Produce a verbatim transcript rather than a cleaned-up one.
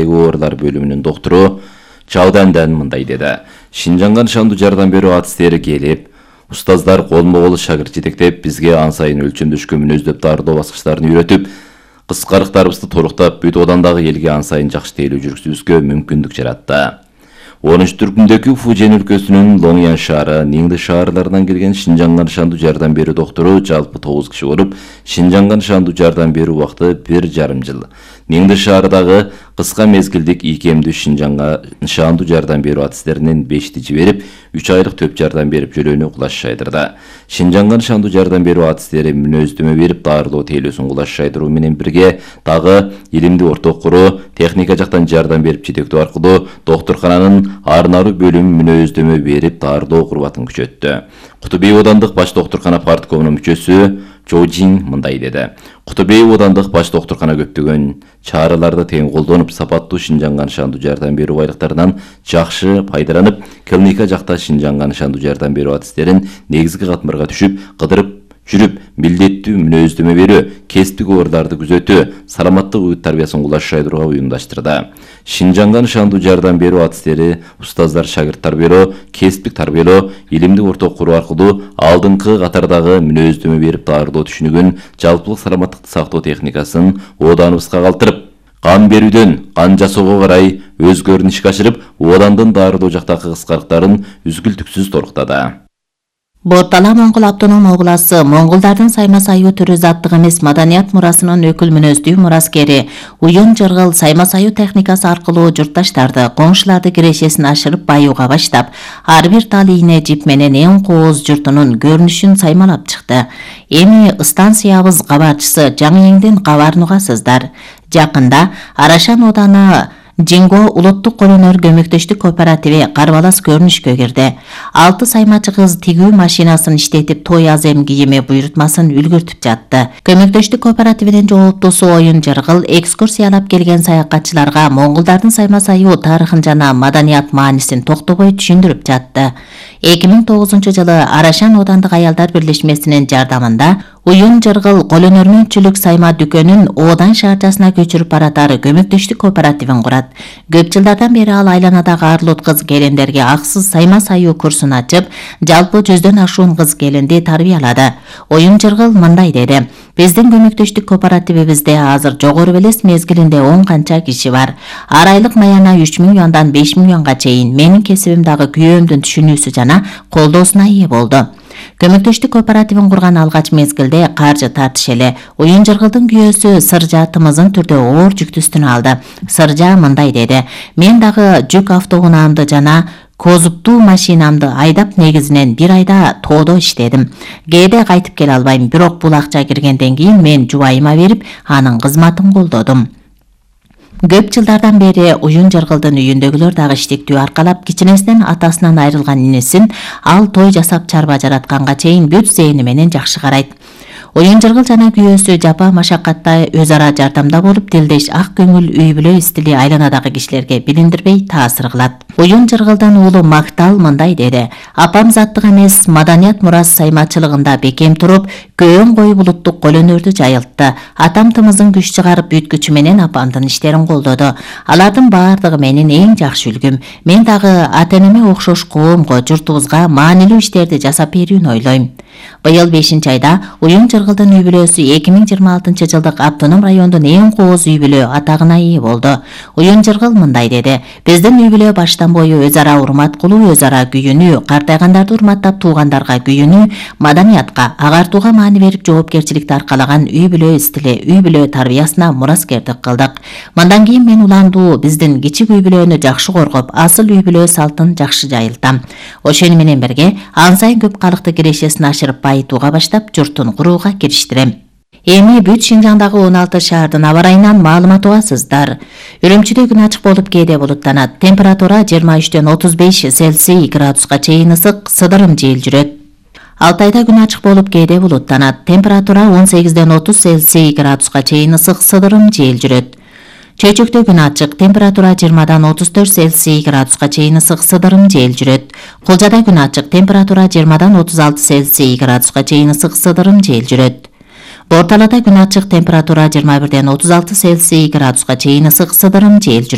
оорулар бөлүмүнүн доктуру Чаудандан мындай деди. Шинжанга нышандуу жардам берүү атистери келип, устаздар колмо-кол шагырт жетектеп, бизге ан сайын өлчөмдөшкө мүнөздөп даарылоо баскычтарын үйрөтүп, кыскарыктарыбызды толуктап, бүт одандагы элге ан сайын жакшы тейлөө жүргүзүүбүзгө мүмкүндүк жаратты. онунчу түркүмдөгү Фужен өлкөсүнүн Лоңян шаары, Ниңди шаарларынан келген Шинжанга нышандуу жардам берүү доктору жалпы тогуз киши болуп, Шинжанга нышандуу жардам берүү убакыты бир жарым жыл. Ниңди шаарындагы кыска мезгилдик ийкемдүү Шинжанга нышандуу жардам берүү атистеринин бешти жиберип, үч айлык төп жардам берип жөлөөнү кулаш шайдырды. Шинжанга нышандуу жардам берүү атистери мүнөздөмө берип, даарылоо тейлөөсүн кулаш шайдыруу менен бирге дагы илимди орток куруу, техника жактан жардам берип жетектөө аркылуу доктуркананын ар-наруу бөлүм мүнөздөмө берип даарылоо курбатын күчөттү. Кутубей оодандык баш доктуркана парткомунун мүчөсү Чожин мындай деди. Кутубей оодандык баш доктуркана көптөгөн чараларды тең колдонуп, сапаттуу Шинжанга нышандуу жардам берүү байлыктарынан жакшы пайдаланып, клиника жакта Шинжанга нышандуу жардам берүү атистерин негизги катмарга түшүп, кыдырып жүрүп, милдеттүү мүнөздөмө берүү, кесиптик ооруларды күзөтүү, саламаттык үгүт тарбиясын кулаш шайдырууга уюмдаштырды. Шинжанга нышандуу жардам берүү атистери устаздар шагырт тарбиялоо, кесиптик тарбиялоо, илимдик орток куруу аркылуу алдыңкы катардагы мүнөздөмө берип даарылоо түшүнүгүн, жалпылык саламаттыкты сактоо техникасын ооданыбызга калтырып, кан берүүдөн кан жасоого карай өзгөрүн ишке ашырып, оодандын даарылоо жактагы кыскарыктарын үзгүлтүксүз толуктады. Бортала Моңгол автоном обласы Моңголдардын сайма саюу түрү заттык эмес маданият мурасынын өкүл мүнөздүү мураскери уюн жыргыл сайма саюу техникасы аркылуу журтташтарды, коңшуларды кирешесин ашырып баюуга баштап, ар бир тал ийне жип менен эң кооз журтунун көрүнүшүн саймалап чыкты. Эми станциябыз кабарчысы Жаңыеңден кабарын угасыздар. Жакында Арашан ооданы Жинго улуттук колөнөр көмөктөштүк кооперативи карбалас көрүнүшкө кирди. Алты саймачы кыз тигүү машинасын иштетип той азем кийими буйрутмасын үлгүртүп жатты. Көмөктөштүк кооперативинин жооптусу Оюн Жыргыл экскурсиялап келген саякатчыларга монголдардын сайма саюу тарыхын жана маданият маанисин токтобой түшүндүрүп жатты. эки миң тогузунчу жылы Арашан оодандык аялдар бирлешмесинин жардамында Уюн Жыргыл колөнөрмөнчүлүк сайма дүкөнүн Оодан шаарчасына көчүрүп баратары көмөктөштүк кооперативин курат. Көп жылдардан бери ал айланадагы арлут кыз келиндерге аксыз сайма саюу курсун ачып, жалпы жүздөн ашуун кыз келинди тарбиялады. Оюн Жыргыл мындай деди. Биздин көмөктөштүк кооперативибизде азыр жогору белес мезгилинде он канча киши бар. Ар айлык маяна үч миң юандан беш миң юанга чейин менин кесибим дагы күйөөмдүн түшүнүүсү жана колдоосуна ээ болду. Көмөктөштүк кооперативин курган алгач мезгилде каржы тартыш эле. Оюн Жыргылдын күйөөсү Сыржа тымызын түрдө оор жүктү үстүнө алды. Сыржа мындай деди. Мен дагы жүк автоунаамды жана козуптуу машинамды айдап негизинен бир айда тоодо иштедим. Кээде кайтып келе албайм, бирок бул акча киргенден кийин мен жубайыма берип, анын кызматын колдодум. Көп жылдардан бери Уюн Жыргылдын үйүндөгүлөр дагы иштиктүү аркалап, кичинесинен атасынан айрылган инесин ал той жасап чарба жаратканга чейин бүт зээни менен жакшы карайт. Оюн Жыргыл жана күйөөсү жапа машакатта өз ара жардамда болуп, тилдеш ак көңүл үй бүлө стили айланадагы кишилерге билиндирбей таасир кылат. Оюн Жыргылдын уулу Мактал мындай деди. Апам заттык эмес маданият мурас саймачылыгында бекем туруп, көөн коюп улуттук колөнөрдү жайылтты. Атам тымызын күч чыгарып бүткүчү менен апамдын иштерин колдоду. Алардын баардыгы менин эң жакшы үлгүм. Мен дагы ата-энеме окшош коомго, журтубузга маанилүү иштерди жасап берүүнү ойлойм. Быйыл бешинчи айда Уюн Жыргылдын үй бүлөсү эки миң жыйырма алтынчы жылдык автоном райондун эң кооз үй бүлө атагына ээ болду. Уюн Жыргыл мындай деди. Биздин үй бүлө баштан бою өз ара урмат кылуу, өз ара күйүнүү, картайгандарды урматтап туугандарга күйүнүү, маданиятка, агартууга маани берип жоопкерчиликти аркалаган үй бүлө стили, үй бүлө тарбиясына мураскердик кылдык. Мындан кийин мен уландуу биздин кичик үй бүлөнү жакшы коргоп, асыл үй бүлө салтын жакшы жайылтам. Ошону менен бирге ан сайын көп калыкты кирешесин ашырып байытууга баштап, журтун курууга кириштирем. Эми бүт Шинжаңдагы он алты шаардын аба ырайынан маалымат угасыздар. Үрүмчүдө күн ачык болуп кээде булуттанат. Температура жыйырма үчтөн отуз беш Цельсий градуска чейин ысык, сыдырым жел жүрөт. Алтайда күн ачык болуп кээде булуттанат. Температура он сегизден отуз Цельсий градуска чейин ысык, сыдырым жел жүрөт. Чөйчөктө күн ачык, температура жыйырмадан отуз төрт Цельсий градуска чейин ысык, сыдырым жел жүрөт. Кулжада күн ачык, температура жыйырмадан отуз алты Цельсий градуска чейин ысык, сыдырым жел жүрөт. Борталада күн ачык, температура жыйырма бирден отуз алты Цельсий градуска чейин ысык, сыдырым жел жүрөт.